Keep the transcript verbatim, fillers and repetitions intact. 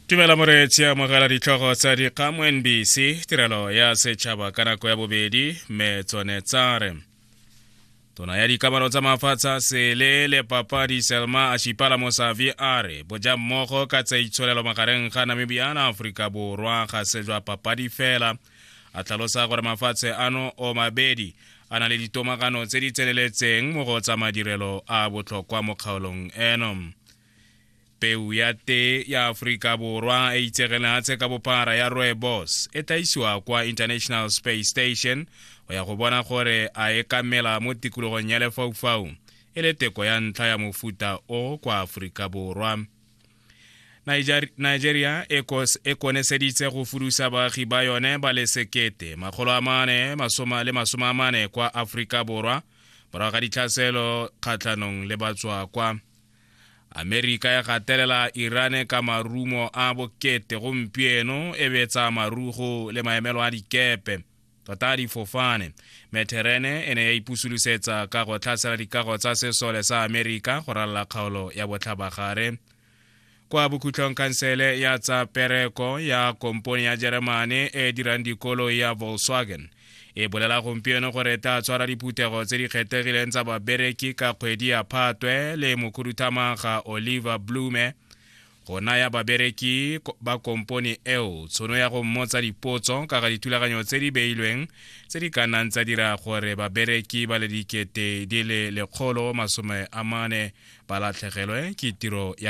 Tumela moreetsi, amogela ditlhogo tsa dikgang mo N B C tirelo ya setšhaba ka nako ya bobedi, mme tsone tsa re: Tona ya dikamano tsa mafatshe a sele le papadi Selma Ashipala Mosavi a re bojammogo ka tsa itsholelo magareng ga Namibia le Aforika Borwa ga se jwa papadi fela, a tlhalosa gore mafatshe ano o mabedi a na le ditomagano tse di tseneletseng mo go tsa madirelo a botlhokwa mo kgaolong eno. Peu ya tee ya Aforika Borwa e itsegeng lehatshe ka bophara ya rooibos e tla isiwa kwa International Space Station go ya go bona gore a e ka mela mo tikologong ya lefaufau, e le teko ya ntlha ya mofuta o kwa Aforika Borwa. Nigeria e koneseditse go fudusa baagi ba yone ba le sekete makgolo a mane le masome a mane kwa Aforika Borwa morago ga ditlhaselo kgatlhanong le batswakwa. Amerika ya gatelela Iran ka marumo a bokete gompieno, e betsa marugo le maemelo a dikepe, tota a difofane. Meterene e ne ya ipusolosetsa ka go tlhasela dikago tsa sesole sa Amerika go ralala kgaolo ya Botlhabagare. Kwa bokhutlong, khansele ya tsa pereko ya kompone ya Jeremane e dirang dikoloi ya Volkswagen e bolela gompieno gore tla tshwara diphuthego tse di kgethegileng tsa babereki ka kgwedi ya Phatwe le mokhuduthamaga Oliver Blume go naya babereki ba kompone eo tshono ya go mmotsa dipotso ka ga dithulaganyo tse di beilweng tse di ka nnang tsa dira gore babereki ba le dikete di le lekgolo masome a mane ba latlhegelwe ke tiro ya